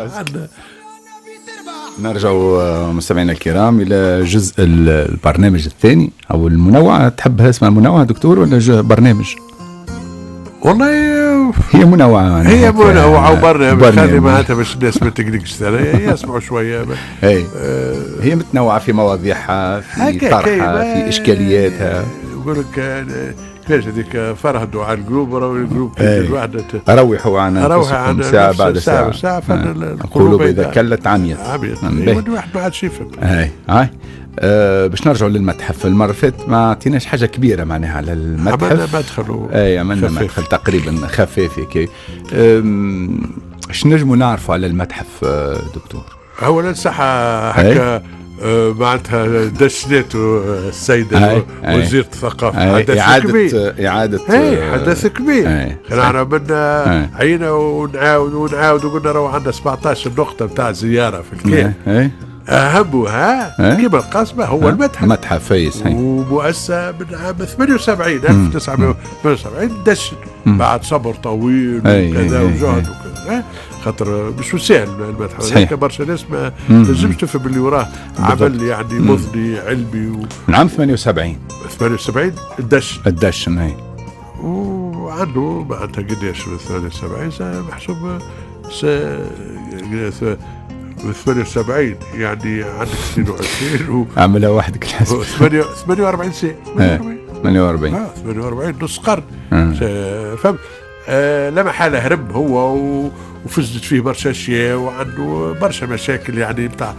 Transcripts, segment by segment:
راسك. نرجع مستمعينا الكرام الى جزء البرنامج الثاني او المنوعه. تحبها اسمها منوعة دكتور ولا برنامج؟ والله هي منوعة، هي منوعة وبرنامج، خلي معناتها باش الناس ما تقلقش، يسمعوا شوية. اي هي متنوعة في مواضيعها، في طرحها، في اشكالياتها. يقول لك كيفاش هذيك فرهدوا على القلوب، راهو القلوب الواحدة روحوا عن أنفسكم ساعة بعد ساعة، ساعة، القلوب إذا كلت عميت، عميت، الواحد ما عادش يفهم. هاي هاي باش نرجعوا للمتحف. المرة اللي فاتت ما عطيناش حاجة كبيرة معناها على المتحف، عملنا مدخل، اي عملنا مدخل تقريبا خفيف هيك. اش نجموا نعرفوا على المتحف دكتور؟ أولا صح هكا معناتها دشنته السيدة وزيرة الثقافة، حدث كبير، إعادة حدث كبير. احنا عملنا عينا ونعاود ونعاود وقلنا راهو عندنا 17 نقطة نتاع زيارة في الكيف، أهمها كما القصبة هو المتحف، متحف ومؤسسة من عام 78 1978 دشن بعد صبر طويل وكذا وجهد وكذا، خاطر مش سهل المتحف هذاك، برشا ناس ما تنجمش تفهم اللي وراه عمل يعني مضني علمي من عام 78 الدشن، الدشن هي، وعنده معناتها قداش 78 محسوب 78 يعني عندك 22 عملها وحدك الحسب 48 سنة، 48 48 نص قرن. فهمت؟ لا محالة هرب هو وفزت فيه برشا اشياء وعنده برشا مشاكل يعني بتاع،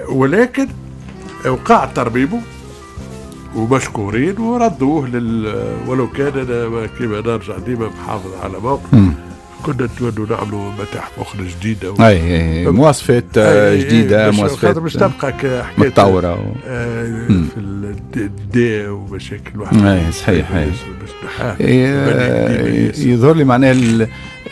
ولكن وقع ترميمه ومشكورين وردوه ولو كان انا كيما نرجع ديما محافظ على موقف، كنا نتمنوا نعملوا متاحف اخرى جديدة اي مواصفات جديدة، مواصفات باش تبقى حكاية متطورة في الداء ومشاكل واحدة. اي صحيح. يظهر لي معناها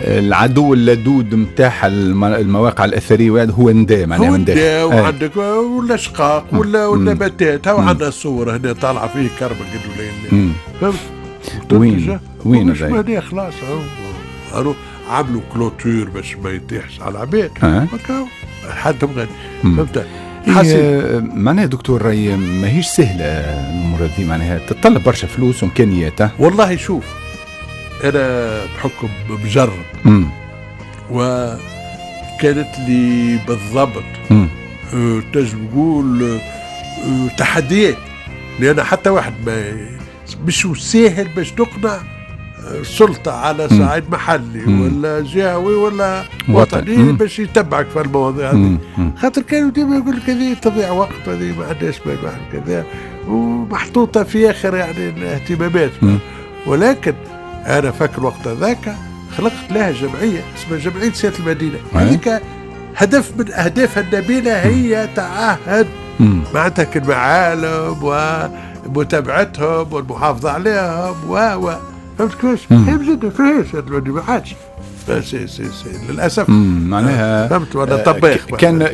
العدو اللدود نتاع المواقع الاثرية هو النداء، معناها هو النداء، وعندك والاشقاق ولا والنباتات. هاو عندنا الصور هنا طالعه فيه كربه قد ولا وين وين هذا خلاص عملوا clôture باش ما يطيحش على العباد، حدهم غادي. فهمت؟ معناها دكتور راي ماهيش سهلة الامور هذه، معناها تتطلب برشا فلوس وامكانيات. والله شوف انا بحكم مجرب وكانت لي بالضبط تنجم تقول تحديات، لان حتى واحد ما مش ساهل باش تقنع سلطة على صعيد محلي ولا جهوي ولا وطني باش يتبعك في المواضيع هذه، خاطر كانوا ديما يقول لك هذه تضيع وقت، هذه ما عندهاش كذا، ومحطوطة في آخر يعني الاهتمامات. ولكن أنا فاكر وقت هذاك خلقت لها جمعية اسمها جمعية سيادة المدينة، هذيك هدف من أهدافها النبيلة هي تعهد معناتها المعالم ومتابعتهم والمحافظة عليهم و فهمت كيفاش؟ هي بجد فيهاش ما عادش c'est c'est c'est للاسف. معناها فهمت ولا طباخ.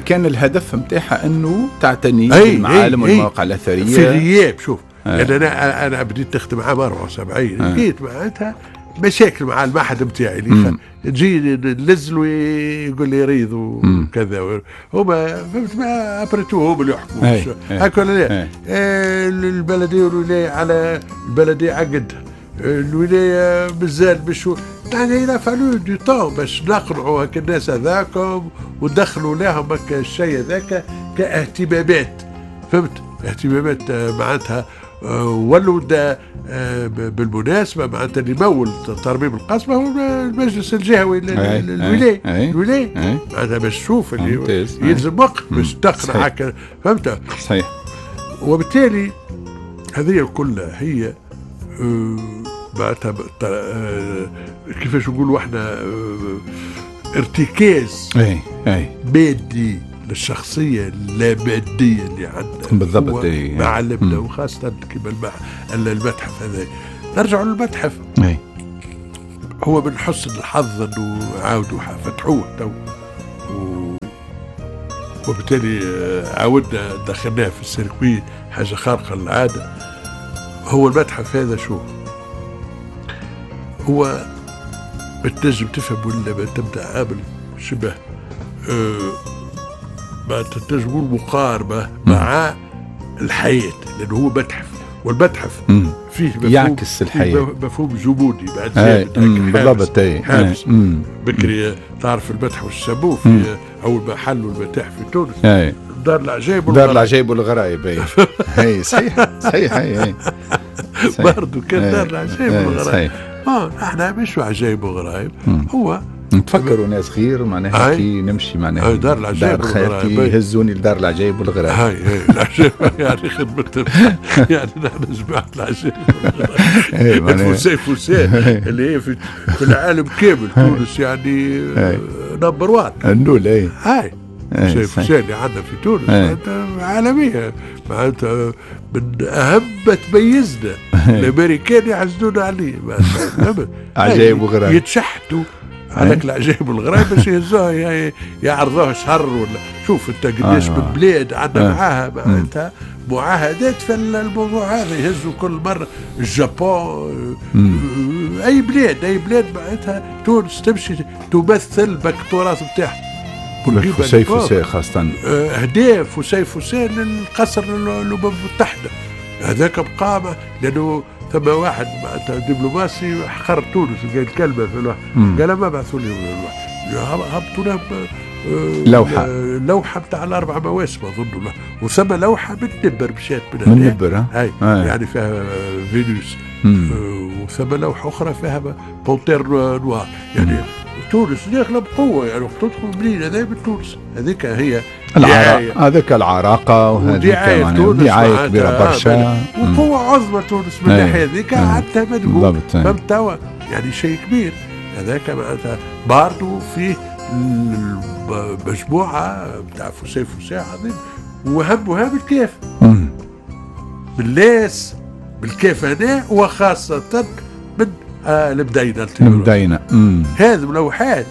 كان الهدف نتاعها انه تعتني بالمعالم والمواقع الاثرية في غياب. شوف انا بديت نخدم عام 74 لقيت معناتها مشاكل مع المعهد نتاعي اللي تجي ننزلوا يقول لي ريض وكذا، هما فهمت ما après tout هما اللي يحكموا هكا ولا لا؟ البلدية والولاية على البلدية عقدها، الولاية مازال باش يعني il a fallu du temps باش نقنعوا هاك الناس هذاكم ودخلوا لهم هاك الشيء هذاك كاهتمامات. فهمت؟ اهتمامات معناتها ولوا بالمناسبة معناتها اللي مول ترميم القصبة هو المجلس الجهوي الولاية، الولاية معناتها باش تشوف اللي يلزم وقت باش تقنع هكا. فهمت؟ صحيح. وبالتالي هذه الكل هي معناتها كيفاش نقولوا احنا ارتكاز مادي للشخصية اللامادية اللي عندنا بالضبط معلمنا، وخاصة كما المتحف هذا. نرجع للمتحف، هو من حسن الحظ انه عاودوا فتحوه تو، وبالتالي عاودنا دخلناه في ال circuit، حاجة خارقة للعادة. هو المتحف هذا شو هو؟ بتنجم تفهم ولا ما تبدا عامل شبه ما تنجموا مقاربة مع الحياة، لأنه هو متحف، والمتحف فيه مفهوم يعكس الحياة، مفهوم جمودي بعد بالضبط. حابس بكري تعرف المتحف والسموه في أول ما حلوا المتاحف في تونس دار العجائب، دار العجائب والغرائب. اي صحيح صحيح. اي برضه كان دار العجائب والغرائب. احنا مش عجائب وغرائب، هو نتفكروا ناس خير معناها كي نمشي معناها دار العجائب والغرائب، يهزوني لدار العجائب والغرائب. هاي العجائب يعني خدمة، يعني نحن جماعة العجائب والغرائب. فسيفساء اللي هي في العالم كامل، تونس يعني number 1 النول. اي هاي فسيفساء اللي عندنا في تونس معناتها عالمية، معناتها من أهم ما تميزنا. الأمريكان يحسدونا عليه، عجائب وغرائب، يتشحتوا عليك العجائب والغرائب باش يهزوها يعرضوها شهر ولا. شوف انت قداش من بلاد عندنا معاها معناتها معاهدات في الموضوع هذا، يهزوا كل مرة اليابان، اي بلاد، اي بلاد معناتها تونس تمشي تمثل بك التراث نتاعها. فسيفساء خاصة أهداف فسيفساء للقصر الأمم المتحدة هذاك بقى، لأنه ثم واحد دبلوماسي حقر تونس قال كلمة في الواحد، قال ما بعثوا لي هبطوا لهم لوحة، لوحة بتاع الأربع مواسم أظن، وثم لوحة من نبر مشات من نبر هاي يعني فيها فينوس، وثم لوحة أخرى فيها panthère noire. يعني تونس داخله بقوة، يعني وقت تدخل منين هذا من تونس، هذيك هي هذيك العراقه وهذيك دعاية كبيرة برشا وقوه عظمى تونس من الناحية هذيك عندها مدهون. فهمت توا يعني شيء كبير هذاك معناتها. برضه فيه مجموعة بتاع فسيفساء عظيم، وهم الكاف باللاس بالكاف هنا، وخاصة من المدينة. المدينة هذه لوحات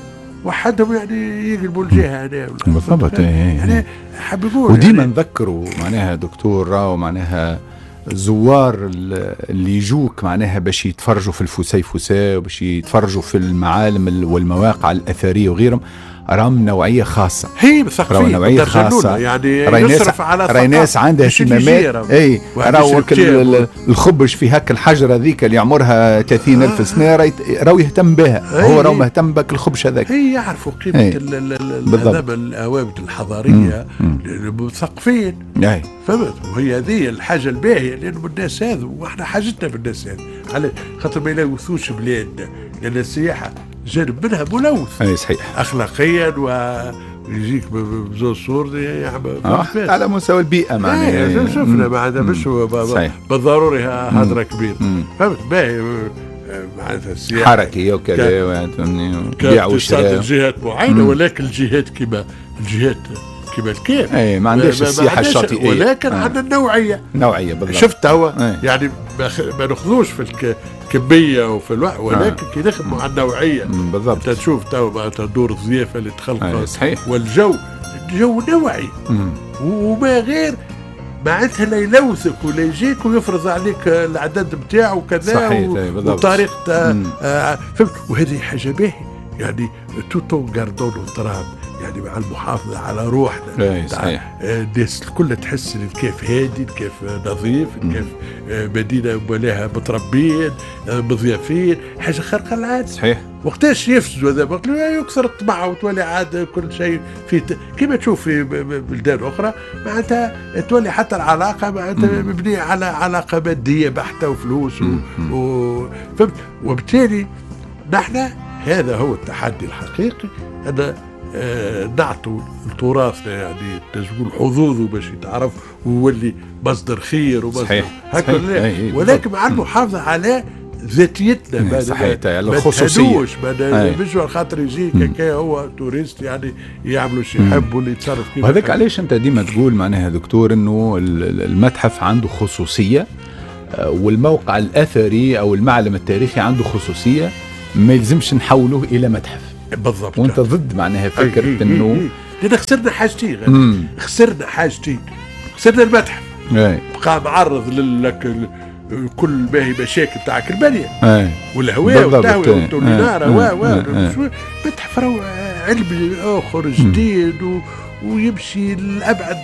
وحدهم يعني يقلبوا الجهة هنا بالضبط. يعني حاب يقول وديما يعني نذكروا معناها دكتور راهو معناها الزوار اللي يجوك معناها باش يتفرجوا في الفسيفساء وباش يتفرجوا في المعالم والمواقع الأثرية وغيرهم، راهم نوعية خاصة. هي مثقفين، نوعية خاصة يعني يصرف على راي ناس عندها اهتمامات. اي راهو الخبش في هاك الحجرة ذيك اللي عمرها 30,000 سنة راهو يهتم بها، هو راهو مهتم بك الخبش هذاك. هي يعرفوا قيمة الأوابد الحضارية، المثقفين. فهمت؟ وهي هذه الحاجة الباهية، لأنه الناس هذو واحنا حاجتنا بالناس هذو، على خاطر ما يلوثوش بلادنا، لأن السياحة جانب منها ملوث. اي صحيح اخلاقيا، ويجيك بزوج صور على مستوى البيئة معناها. شفنا معناتها مش بالضروري هدره كبيرة. فهمت؟ باهي معناتها السياحة حركية وكذا بيع وشراء الجهات معينة، ولكن الجهات كما الجهات كما الكيف اي ما عندهاش السياحة الشاطئيه، ولكن عندنا النوعية. نوعية بالضبط. شفت هو يعني ما ناخذوش في الكمية وفي الوقت، ولكن كي نخدموا على النوعية بالضبط. انت تشوف تو معناتها دور الضيافة اللي تخلق والجو جو نوعي وما غير معناتها لا يلوثك ولا يجيك ويفرض عليك العدد نتاعو وكذا وطريقه. فهمت؟ وهذه حاجة باهيه يعني tout en gardant notre âme، يعني مع المحافظة على روحنا. صحيح. الناس الكل تحس الكيف هادي، الكيف نظيف، الكيف مدينة ولاها متربيين مضيافين، حاجة خارقة للعادة. صحيح. وقتاش يفسدوا هذا؟ وقت يكثر الطمع وتولي عاد كل شيء في كما تشوف في بلدان أخرى معناتها تولي حتى العلاقة معناتها مبنية على علاقة مادية بحتة وفلوس فهمت؟ وبالتالي نحن هذا هو التحدي الحقيقي، أن نعطوا تراثنا يعني تقول حظوظه باش يتعرف ويولي مصدر خير ومصدر هكذا، ولكن مع المحافظة على ذاتيتنا. صحيح، الخصوصية ما مش خاطر يجي كي هو touriste يعني يعملوا شيء يحبوا اللي يتصرف كيف. وهذاك علاش انت ديما تقول معناها دكتور انه المتحف عنده خصوصية، والموقع الاثري او المعلم التاريخي عنده خصوصية، ما يلزمش نحوله الى متحف. بالضبط. وانت ضد معناها فكرة انه لان خسرنا حاجتين، خسرنا حاجتين، خسرنا المتحف بقى معرض لك كل ما هي مشاكل تاعك البنية والهواء والتهويه والتولينار و متحف راهو علمي اخر جديد ويمشي لابعد.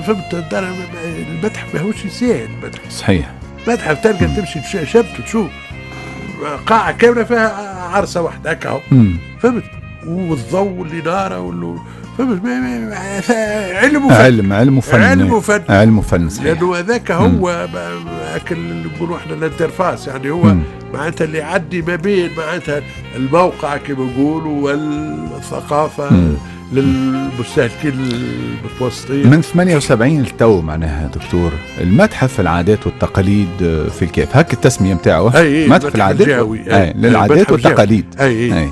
فهمت؟ المتحف ماهوش ساهل. المتحف صحيح، متحف تلقى تمشي شبت تشوف قاعة كاملة فيها عرسه واحدة هكا، فهمت؟ والضوء اللي ناره فهمت؟ علم وفن، علم وفن، علم وفن، علم وفن صحيح. لانه هذاك هو اكل نقولوا احنا ال interface، يعني هو معناتها اللي يعدي ما بين معناتها الموقع كما نقولوا والثقافة للمستهلكين المتوسطين. من 78 لتو معناها دكتور المتحف العادات والتقاليد في الكاف، هك التسمية نتاعو، متحف العادات للعادات والتقاليد. أي. أي.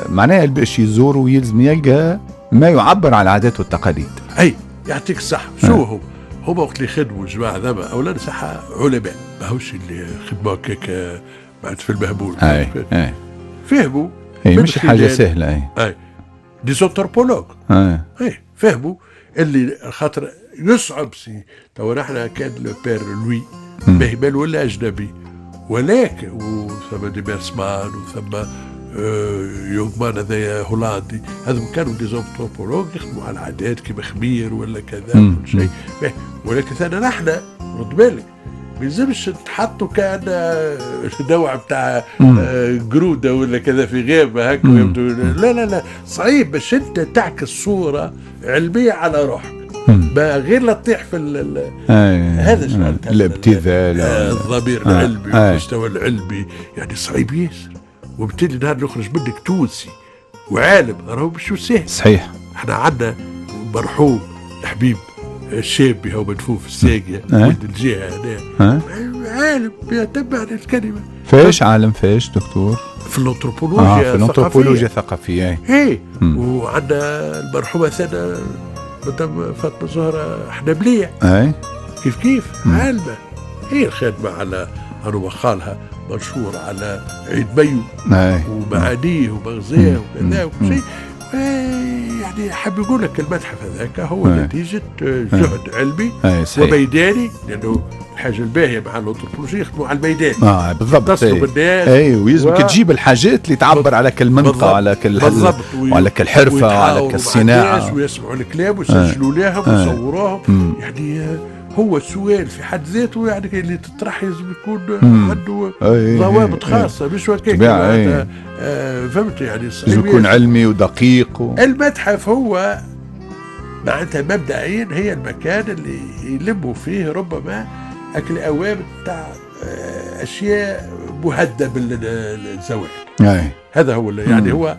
معناها باش يزور ويلزم يلقى ما يعبر عن العادات والتقاليد. اي يعطيك الصحة. شو هو؟ هما وقت اللي خدموا الجماعة ذا اولا صحة علماء، ماهوش اللي خدموا هكاك بعد في المهبول. اي اي فهموا، اي مش حاجة سهلة. اي اي des anthropologues. اي فهموا اللي خاطر يصعب سي تو نحن كان le père لوي مهمل ولا اجنبي، ولكن وثم دي بيرسمان وثم يوغمان هذايا هولندي، هذم كانوا des anthropologues يخدموا على العادات كيما خمير ولا كذا كل شيء. ولكن ثاني نحن رد بالك ما يلزمش تحطوا كان نوع بتاع قروده ولا كذا في غابه هكا. لا لا لا، صعيب باش انت تعكس صوره علمية على روحك، ما غير لا تطيح في هذا الابتذال، الضمير العلمي والمستوى العلمي، يعني صعيب ياسر. وبالتالي نهار اللي يخرج منك تونسي وعالم راهو مش سهل. صحيح. احنا عندنا مرحوم الحبيب الشابي هو مدفون في الساقية ولد الجهة هنا، عالم يتبع الكلمة. فاش عالم فاش دكتور؟ في الانثروبولوجيا. في الانثروبولوجيا الثقافية. اي. وعندنا المرحومة ثانية مدام فاطمة زهرة حنبلية. اي كيف كيف عالمة، هي الخدمة على أنا خالها منشور على عيد مايو ومعانيه ومغزاه وكذا وكل شيء. يعني حاب يقول لك المتحف هذاك هو نتيجة جهد علمي وميداني، لأنه الحاجة الباهية مع الأنثروبولوجيا يخدموا على الميدان. بالضبط. تصلوا بالناس. اي ويلزمك تجيب الحاجات اللي تعبر على كل منطقة، على كل وعلى كل حرفة، وعلى كل صناعة، ويسمعوا الكلام ويسجلوا لهم ويصوروهم. يعني هو السؤال في حد ذاته يعني اللي تطرح لازم يكون عنده ضوابط خاصة، مش هكاك. فهمت يعني؟ لازم يكون علمي ودقيق المتحف هو معناتها مبدئيا هي المكان اللي يلموا فيه ربما أكل أوامر تاع أشياء مهدة بالزواج. هذا هو يعني هو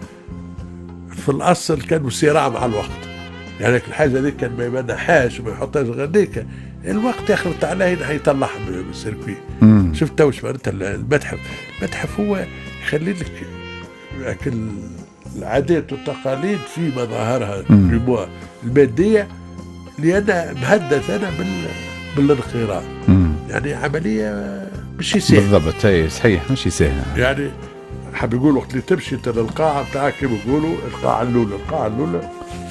في الأصل كانوا صراع مع الوقت، يعني الحاجة هذيك كان ما يمنحهاش وما يحطهاش غاديك، الوقت يخلط عليه يطلعها من ال circuit. شفت تو معناتها المتحف؟ المتحف هو يخلي لك العادات والتقاليد في مظاهرها المادية، لأنها مهددة أنا بالانخراط. يعني عملية مش سهلة. بالضبط. اي صحيح، مش سهلة. يعني حاب يقول وقت اللي تمشي انت للقاعة بتاعك كيما يقولوا القاعة الأولى، القاعة الأولى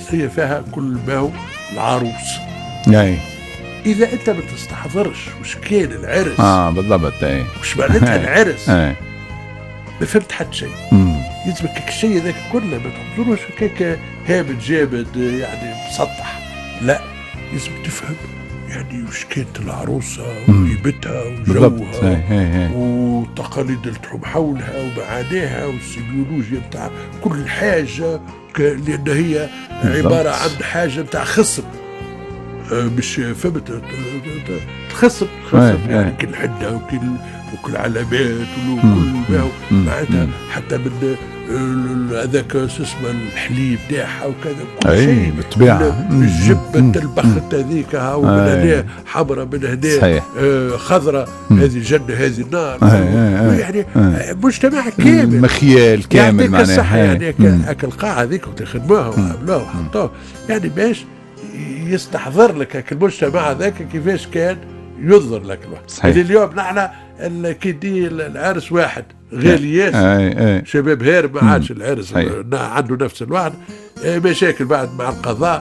هي فيها كل ما هو العروس. اي إذا أنت ما تستحضرش وش كان العرس. بالضبط. اي وش معناتها العرس. ما فهمت حتى شيء. يلزمك الشيء هذاك كله ما تحضروش هكاك هابط جابد يعني مسطح، لا لازم تفهم يعني وش كانت العروسة وهيبتها وجوها والتقاليد اللي تحوم حولها ومعانيها والسيميولوجيا بتاع كل حاجة، لأن هي عبارة عن حاجة بتاع خصب، مش فهمت؟ خصب يعني كل حدة وكل علامات وكل ما معناتها، حتى من هذاك اسمه الحليب تاعها وكذا كل شيء بالطبيعة. الجبة البخت هذيك ومن هنا حمراء من هنا خضراء، هذه جنة هذه النار، يعني مجتمع كامل، مخيال كامل معناها. يعني هاك القاعة هذيك وتخدموها وعملوها وحطوها، يعني باش يستحضر لك المجتمع هذاك كيفاش كان ينظر لك الواحد. يعني اليوم نحن كي العرس واحد غالي ياسر، شباب هارب ما عادش العرس عنده نفس الواحد، مشاكل بعد مع القضاء.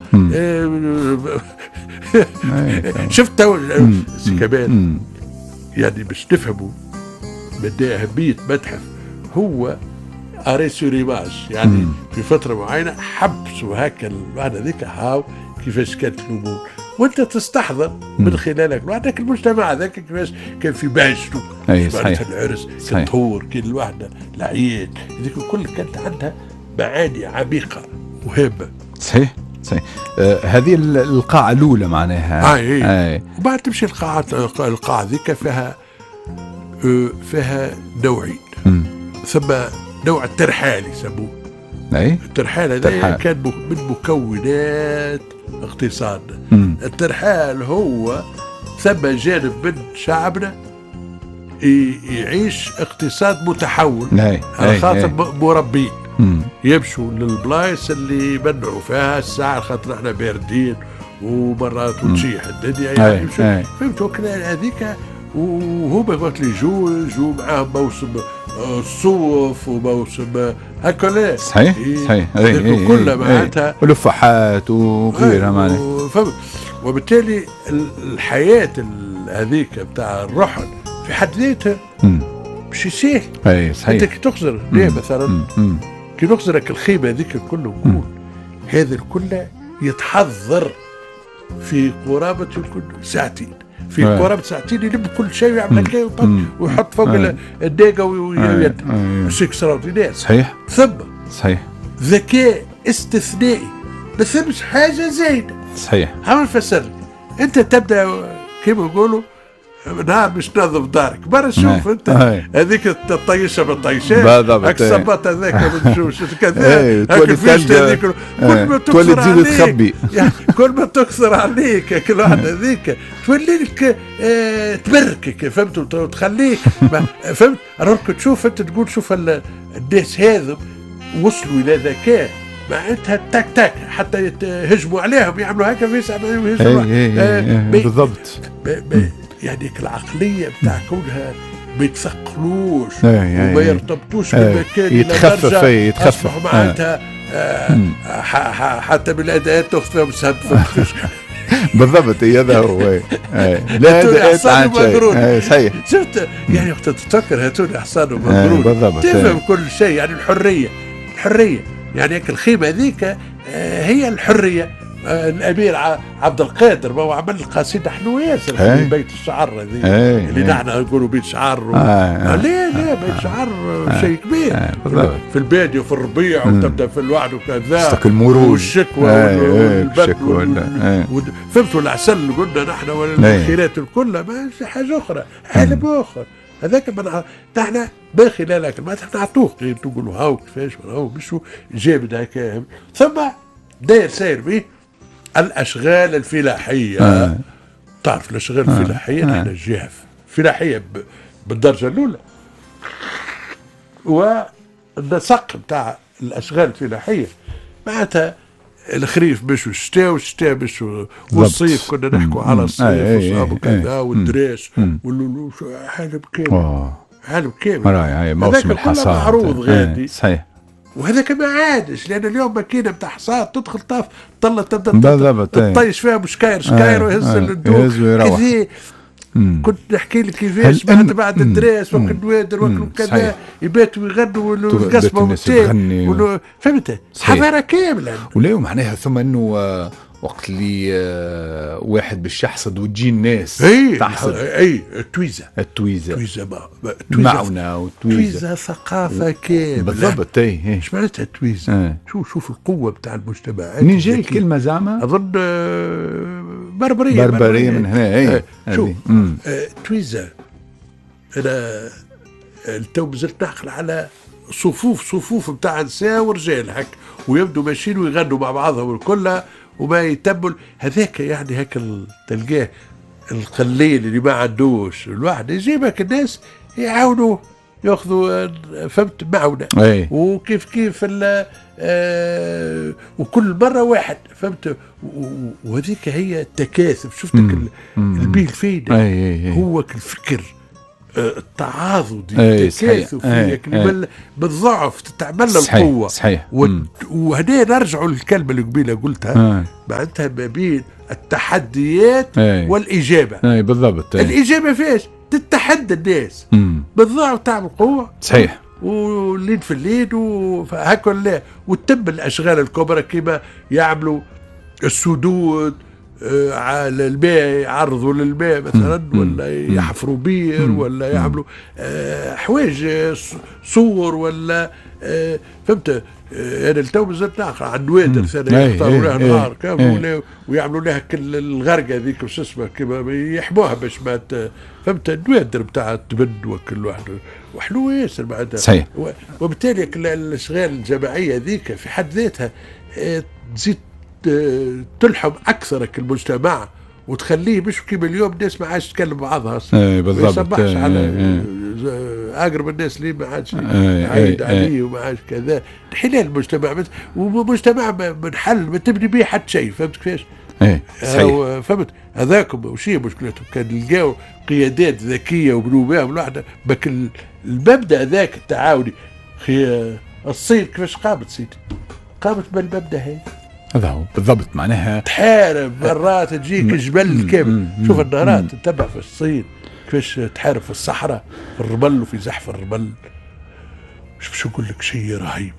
شفت تو كمان يعني باش تفهموا مدى أهمية متحف، هو arrêt sur image، يعني في فترة معينة حبسوا هكا الوحدة هذيك، هاو كيفاش كانت الامور، وانت تستحضر من خلالك وعندك المجتمع هذاك كيفاش كان في بهجته، صحيح. العرس، الطهور، كي الوحدة، العيد، هذيك الكل كانت عندها معاني عميقة وهامه. صحيح صحيح. هذه القاعة الاولى معناها. اي. وبعد تمشي القاعات، القاعة ذيك فيها نوعين. ثم نوع الترحال يسموه. اي. الترحال هذا كان من مكونات اقتصادنا. الترحال هو ثم جانب من شعبنا يعيش اقتصاد متحول على خاطر مربين يمشوا للبلايص اللي يمنعوا فيها الساعة خاطر احنا باردين ومرات وتشيح الدنيا يعني. فهمتوا هذيك. وهما وقت اللي جو معاهم موسم الصوف وموسم هكا. صحيح صحيح. كلها معناتها ولفحات وغيرها معناتها. وبالتالي الحياة هذيك بتاع الرحل في حد ذاتها مش سهل. اي صحيح. انت كي تخزر ليه مثلا كي نخزرك الخيمة هذيك الكل نقول هذا الكل يتحضر في قرابة ساعتين، في قرابة ساعتين يلم كل شيء ويعمل هكا ويحط فوق الداقة ويد. c'est extraordinaire. صحيح. ثم صحيح ذكاء استثنائي، ما ثمش حاجة زايدة. صحيح. عم نفسر لك، انت تبدا كيما نقولوا نهار باش تنظف دارك، برا شوف انت هذيك الطيشه بالطيشات، هاك الصباط هذاك كذا، هاك الفيش هذيك، كل ما تولي تزيد تخبي، يعني كل ما تكثر عليك كل واحدة هذيك تولي لك تبركك، فهمت، وتخليك فهمت. راك تشوف انت تقول شوف الناس هذم وصلوا الى ذكاء معناتها تاك تاك حتى يهجموا عليهم يعملوا هكا في يهجموا بالضبط. يعني العقلية بتاع كونها ما يتثقلوش وما يرتبطوش بالمكان، يتخفف يتخفف معناتها حتى بالاداءات تاخذ فيهم سب. بالضبط هذا هو. لا هاتوني حصان ومقرون. صحيح. شفت يعني وقت تتفكر هاتوني حصان ومقرون تفهم كل شيء. يعني الحرية، الحرية يعني الخيمة هذيك هي الحرية. الامير عبد القادر ما هو عمل قصيدة حلوة ياسر في بيت الشعر هذه اللي نحن نقولوا بيت شعر ليه لا بيت شعر شيء كبير في البادية وفي الربيع وتبدا في الوعد وكذا والشكوى والبرد فهمتوا العسل قلنا نحن والخيرات الكل، ما حاجة اخرى، عالم اخر هذاك. نحن من خلالك ما نعطوه تقولوا هاو كيفاش هاو مشوا جابد هكا. ثم داير ساير به الاشغال الفلاحية. تعرف الاشغال الفلاحية نحن جهة فلاحية بالدرجة الاولى، والنسق بتاع الاشغال الفلاحية معناتها الخريف باش الشتاء والشتاء باش والصيف، كنا نحكوا على الصيف وكذا والدراس عالم كامل، عالم كامل. موسم الحصاد معروض غادي. صحيح. وهذاك ما عادش، لان اليوم ماكينة بتاع حصاد تدخل طاف طلع تبدا تطيش فيها بشكاير شكاير ويهز الدوق كذا. كنت نحكي لك كيفاش بعد الدراس وقت النوادر وقت كذا يباتوا يغنوا والقصبه والتاي، فهمت، حضارة كاملة. ولا معناها ثم انه وقت اللي واحد باش يحصد وتجي الناس تحصد. اي التويزه، التويزه معونه وتويزه ثقافة كاملة. بالضبط. اي ايش معناتها التويزه؟ شوف القوة بتاع المجتمعات. منين جاي الكلمة زعما؟ اظن بربرية، بربرية من هنا. اي شوف تويزه، انا التو مازلت نعقل على صفوف بتاع نساء ورجال هك، ويبدوا ماشيين ويغنوا مع بعضهم الكل وما يتبل هذاك. يعني هاك تلقاه القليل اللي ما عندوش الواحد يجيبك الناس يعاونوه ياخذوا، فهمت، معونة. وكيف كيف وكل مرة واحد، فهمت. وهذيك هي التكاثف. شفتك البيل فين هو الفكر التعاضدي، التكاثف بالضعف تتعمل القوة. صحيح. وهنا نرجعوا للكلمة اللي قبيلة قلتها، معناتها ما بين التحديات والاجابة. اي بالضبط. الاجابة فيش تتحدى الناس بالضعف تعمل قوة. صحيح. والليل في الليل وهكا لا، وتم الاشغال الكبرى كما يعملوا السدود على الماء، يعرضوا للماء مثلا، ولا يحفروا بير، ولا يعملوا حوايج صور ولا فهمت. انا التو مازلت نعقل على النوادر ثاني يختاروا لها نهار كامل ويعملوا لها كل الغرقه هذيك وش اسمها كيما يحموها باش ما فهمت النوادر نتاع التبن وكل واحد وحلو ياسر معناتها. صحيح. وبالتالي الاشغال الجماعية هذيك في حد ذاتها تزيد تلحم اكثر المجتمع وتخليه مش كيما اليوم الناس ما عادش تكلم بعضها. اي بالضبط. ما يصبحش على اقرب الناس اللي ما عادش عايد عليه وما عادش كذا. حلال المجتمع، ومجتمع منحل ما تبني به حتى شيء، فهمت كيفاش؟ ايه صحيح. فهمت هذاكم وشي مشكلتهم، كان لقاو قيادات ذكية وبنوا بها الواحدة بك المبدا ذاك التعاوني. اخي الصين كيفاش قامت سيدي؟ قامت بالمبدا هذا. هذا هو بالضبط. معناها تحارب مرات تجيك جبل كامل. شوف النهارات تتبع في الصين كيفاش تحارب في الصحراء في الرمل وفي زحف الرمل. شو نقول لك، شيء رهيب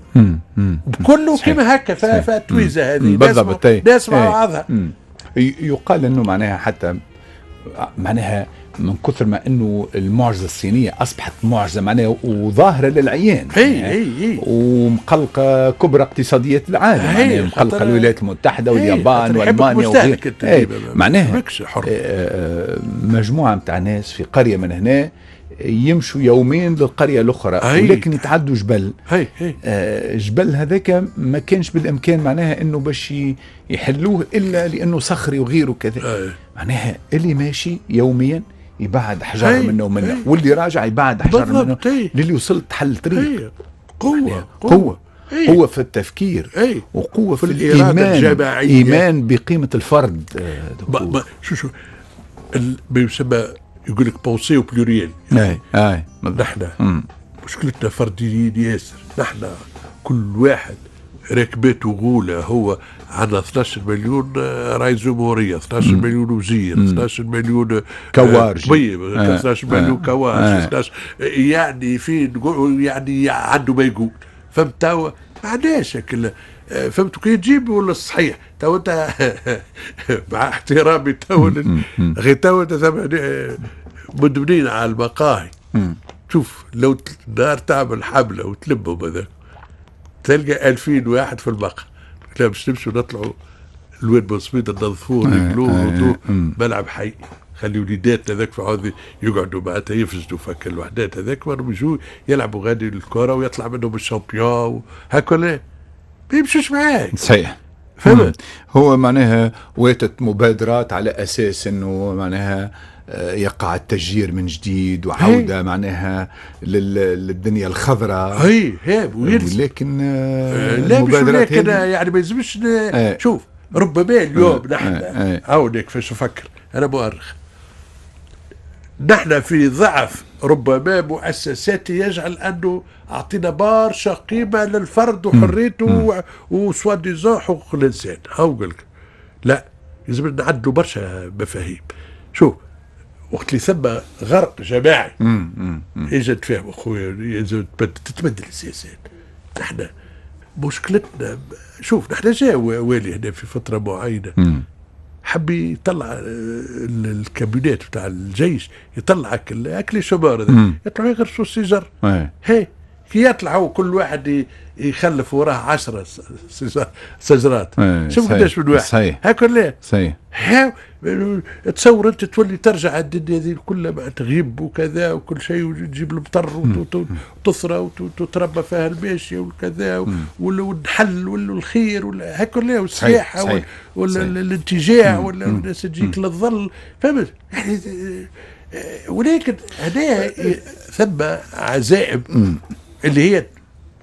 كله كيما هكا. فالتويزه هذه بالضبط ناس مع بعضها. يقال انه معناها حتى معناها من كثر ما انه المعجزة الصينية اصبحت معجزه معناها وظاهره للعيان، هي ومقلقه كبرى اقتصاديات العالم، معناها مقلقة الولايات المتحدة واليابان والمانيا وغيرها. معناها مجموعة نتاع ناس في قرية من هنا يمشوا يومين للقريه الاخرى، ولكن يتعدوا جبل. جبل هذاك ما كانش بالامكان معناها انه باش يحلوه الا لانه صخري وغيره كذا. معناها اللي ماشي يوميا يبعد حجر منه ومنه، واللي راجع يبعد حجر منه، للي وصل تحل طريق. قوة قوة قوة في التفكير، وقوه في الايمان، الجماعية. ايمان بقيمة الفرد. شو ما يسمى يقول لك penser au pluriel. اي اي نحن مشكلتنا فرديين ياسر. نحن كل واحد ركبته غوله. هو عندنا 12 مليون رئيس جمهورية، 12 مليون وزير، 12 مليون كوارجي، طبيب، 12 مليون كوارجي، 12 يعني في يعني عنده ما يقول. فهمت توا ما عندناش فهمت كي تجيب ولا الصحيح تو انت مع احترامي تو غير تو انت مدمنين على المقاهي. شوف لو نهار تعمل حمله وتلمهم هذاك تلقى 2000 واحد في المقهى. لا باش نمشوا نطلعوا الواد بوسميد ننظفوه نقلوه ملعب حي، خلي وليداتنا هذاك في عوض يقعدوا معناتها يفسدوا فك الوحدات هذاك، يجوا يلعبوا غادي الكره ويطلع منهم ال champion هكا. ما يمشوش معاك. صحيح. فهمت. هو معناها واتت مبادرات على اساس انه معناها يقع التشجير من جديد وعودة معناها للدنيا الخضراء. هي ولكن لا مش ولكن يعني ما يلزمش. شوف ربما اليوم نحن هاوليك كيفاش نفكر انا مؤرخ، نحن في ضعف ربما مؤسساتي يجعل انه اعطينا برشا قيمة للفرد وحريته و soi-disant حقوق الانسان. هاو لك لا لازم نعدلوا برشا مفاهيم. شوف وقت اللي ثم غرق جماعي اجا تفهم اخويا تتبدل السياسات. نحن مشكلتنا شوف نحن جاء والي هنا في فترة معينة حب يطلع الكابينات بتاع الجيش، يطلع اكل شبار يطلعوا يغرسوا الشجر. هي كي يطلعوا كل واحد يخلف وراه 10 شجرات. شوف قداش من واحد هاكا لا. صحيح. تصور انت تولي ترجع الدنيا هذه كلها مع تغيب وكذا وكل شيء وتجيب المطر وتثرى وتتربى فيها الماشية وكذا والنحل والخير هكا لا، والسياحة والانتجاع ولا الناس تجيك للظل. فهمت يعني. ولكن هنا ثم عزائم اللي هي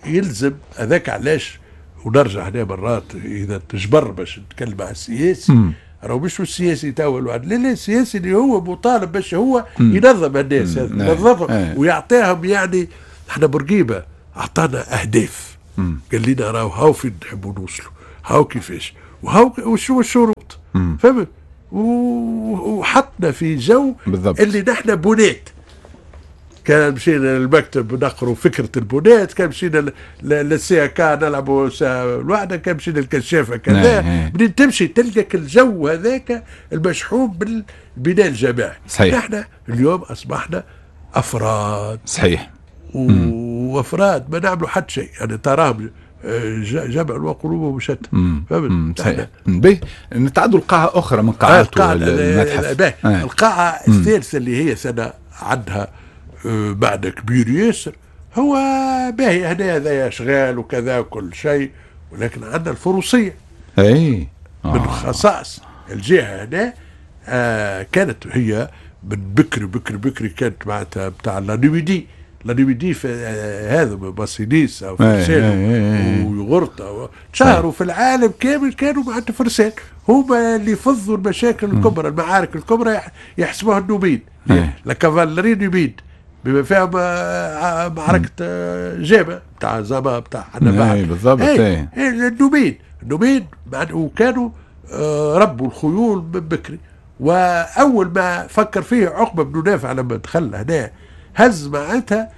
يلزم هذاك علاش. ونرجع هنا مرات اذا تجبر باش نتكلم على السياسي، راهو مش السياسي توا الواحد، لا لا السياسي اللي هو مطالب باش هو ينظم الناس، ينظمهم ويعطيهم. يعني احنا بورقيبة اعطانا اهداف، قال لنا راهو هاو فين نحبوا نوصلوا، هاو كيفاش وهاو وشو الشروط. فهمت؟ وحطنا في جو بالضبط. اللي نحن بنات. كان مشينا للمكتب نقروا فكرة البنات، كان مشينا لل CAK نلعبوا الوحده، كان مشينا للكشافه كذا. منين تمشي تلقى الجو هذاك المشحون بالبناء الجماعي. صحيح. نحن اليوم اصبحنا افراد. صحيح. وافراد ما نعملوا حتى شيء، يعني تراهم جمع وقلوبهم شتى. فهمت؟ صحيح. باهي، نتعدوا لقاعة أخرى من قاعات المتحف. القاعة الثالثة اللي هي سنة عندها معنى كبير ياسر، هو باهي هنا هذا أشغال وكذا وكل شيء، ولكن عندنا الفروسية. أي من خصائص الجهة هنا كانت هي من بكري بكري بكري، كانت معناتها بتاع la Numidie. la Numidie هذا باسيليس او فرسان ويغرطة شهروا في العالم كامل، كانوا معناتها فرسان، هما اللي فضوا المشاكل الكبرى، المعارك الكبرى يحسبوها النوميد، la cavalerie numide، بما فيها معركة جابة بتاع زما بتاع حنا. بالضبط. النوميد، النوميد وكانوا ربوا الخيول من بكري. واول ما فكر فيه عقبه بن نافع لما دخل هنا هز معناتها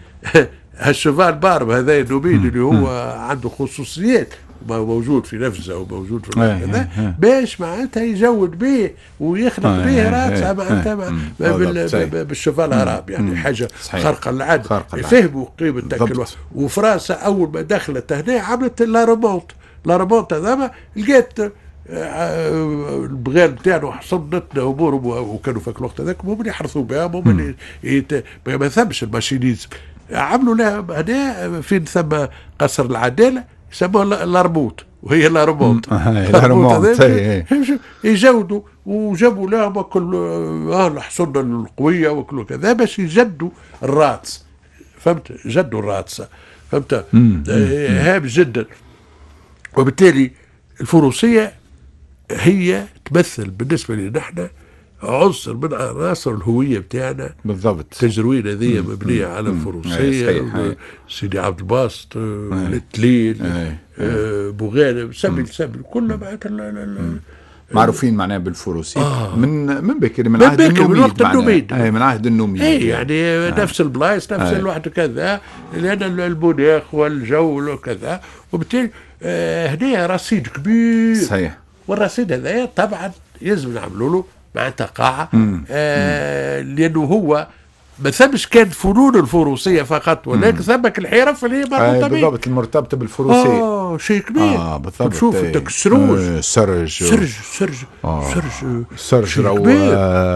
ال cheval barbe هذا النوميد اللي هو عنده خصوصيات موجود في نفسه وموجود في كذا، باش معناتها يجود به ويخلق به راسه معناتها بال cheval arabe، يعني حاجة خارقة للعادة. فهموا قيمة تاكل. وفرنسا اول ما دخلت هنا عملت la remonte، la remonte هذا لقيت البغال نتاعنا حصنتنا امورهم، وكانوا في الوقت هذاك هم اللي يحرثوا بها، هم اللي ما ثمش ال machinisme. عملوا لها هنا فين ثم قصر العدالة يسموها l'Armouth، وهي la remonte. la remonte يجودوا وجابوا لهم كل الحصن القوية وكل كذا باش يجدوا الراتس. فهمت؟ جدوا الراتس. فهمت؟ هام جدا. وبالتالي الفروسية هي تمثل بالنسبة لنا نحن عنصر من عناصر الهوية بتاعنا. بالضبط. التجروين هذه مبنية على الفروسية. سيدي عبد الباسط، التليل، بوغالب، سبل سبل كلها معناتها معروفين معناها بالفروسية. من بكري، من عهد النوميد، من وقت النوميد. من عهد النوميد. يعني نفس البلايص، نفس الواحد كذا، لأن المناخ والجو وكذا. وبالتالي هنا رصيد كبير. صحيح. والرصيد هذا طبعا لازم نعملوا له معناتها قاعة، لأنه هو ما ثمش كان فنون الفروسية فقط، ولكن ثمك الحرف اللي هي مربوطة به. بالضبط، المرتبطة بالفروسية. شيء كبير. بالضبط. تشوف السروج، سرج سرج سرج سرج سرج رو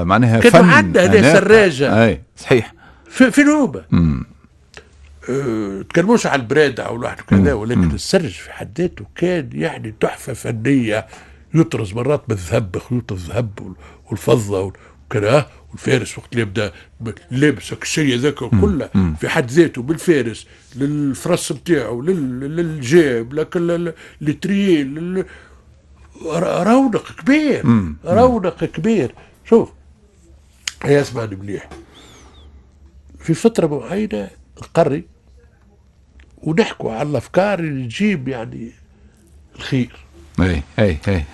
معناها فن. كانوا عندنا هنا سراجة. اي صحيح. في نوبة. تكلموش على البرادة أو الواحد كذا، ولكن السرج في حد ذاته كان يعني تحفة فنية، يطرز مرات بالذهب، خيوط الذهب والفضة وكذا. والفارس وقت اللي يبدا لابس الشيء هذاك كله في حد ذاته، بالفارس للفرس نتاعو، للجيب، لكل l'étrier، رونق كبير. رونق كبير. شوف هي اسمعني مليح، في فترة معينة نقري ونحكوا على الافكار اللي تجيب يعني الخير. اي اي اي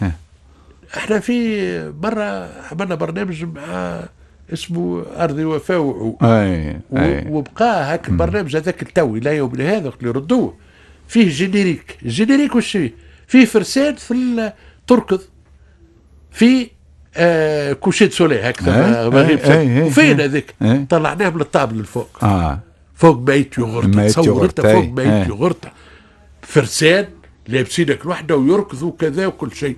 احنا في مرة عملنا برنامج مع اسمه ارضي وفاء وعود. وبقى هاك البرنامج هذاك التوي لا يوم هذا اللي ردوه فيه générique. ال générique وش فيه؟ فيه فرسان في تركض في coucher de soleil هكذا مغيب. وفين هذيك؟ طلعناه من الطابل الفوق. فوق ميت يوغرطة. تصور انت فوق ميت يوغرطة فرسان لابسينك الوحدة ويركضوا كذا وكل شيء،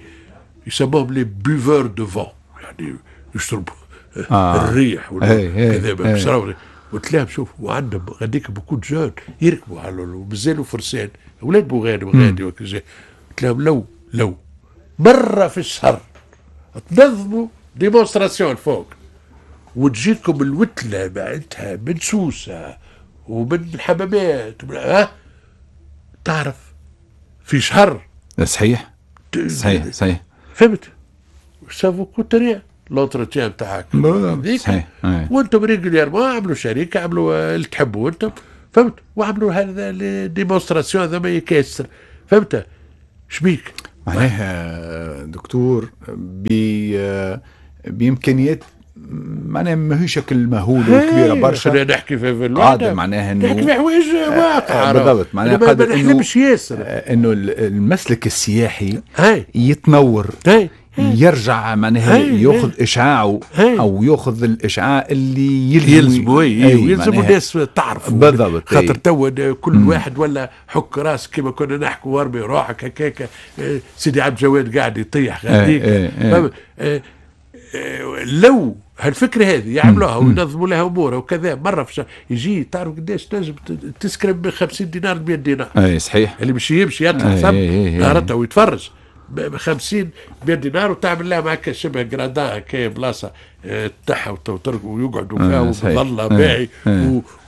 يسموهم les buveurs de vent، يعني يشربوا الريح ولا كذا. قلت لهم شوف، وعندهم غاديك beaucoup de jeunes يركبوا على ومازالوا فرسان اولاد بوغاني وغادي وكذا. قلت لهم لو مرة في الشهر تنظموا démonstration فوق وتجيكم الوتله معناتها من سوسة ومن الحمامات تعرف في شهر. صحيح صحيح صحيح. فهمت؟ ça vous coûte rien l'entretien تاعك صحيح. وانتم régulièrement عملوا شركة، عملوا اللي تحبوا انتم، فهمت؟ وعملوا هذا les démonstrations هذا ما يكسر. فهمت؟ شبيك معناها دكتور بامكانيات معناها ماهيش شكل مهول وكبيره برشا. خلينا نحكي في الوعد معناها انه نحكي في حوايج واقعه بالضبط، معناها قادر انه ياسر انه المسلك السياحي يتنور، يرجع معناها ياخذ اشعاعه او ياخذ الاشعاع اللي يلزمه، يلزم الناس تعرف بالضبط. خاطر تو كل واحد ولا حك راسك كما كنا نحكوا وارمي روحك هكاك، سيدي عبد الجواد قاعد يطيح غاديك. لو هالفكرة هذه يعملوها وينظموا لها امورها وكذا، مرة في يجي تعرف قداش تنجم تسكرب ب 50 دينار 100 دينار. اي صحيح، اللي باش يمشي يطلع ثم نهارتها ويتفرج ب 50 100 دينار، وتعمل لها معك شبه جرادان هكايا بلاصة تاعها ويقعدوا فيها وظلها باهي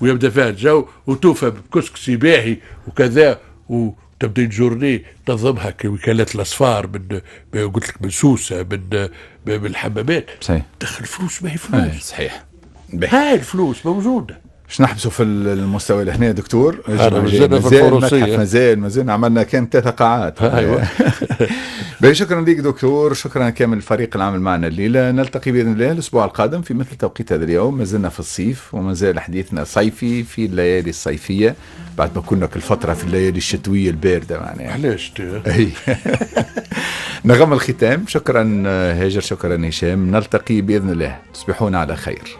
ويبدا فيها الجو وتوفى بكسكسي باهي وكذا، وتبدا journée تنظمها كوكالات الاسفار من قلت لك من سوسة من الحمامات. صحيح، تدخل فلوس، ما هي فلوس. صحيح، هاي الفلوس موجودة. باش نحبسوا في المستوى لهنا يا دكتور. مازلنا في الفروسية، مازال عملنا كان 3 قاعات. ايوه. شكرا لك دكتور، شكرا كامل الفريق العامل معنا الليلة. نلتقي باذن الله الاسبوع القادم في مثل توقيت هذا اليوم. ما زلنا في الصيف وما زال حديثنا صيفي في الليالي الصيفية بعد ما كنا كل فترة في الليالي الشتوية البارده معناها. علاش؟ نغم الختام. شكرا هاجر، شكرا هشام. نلتقي باذن الله، تصبحون على خير.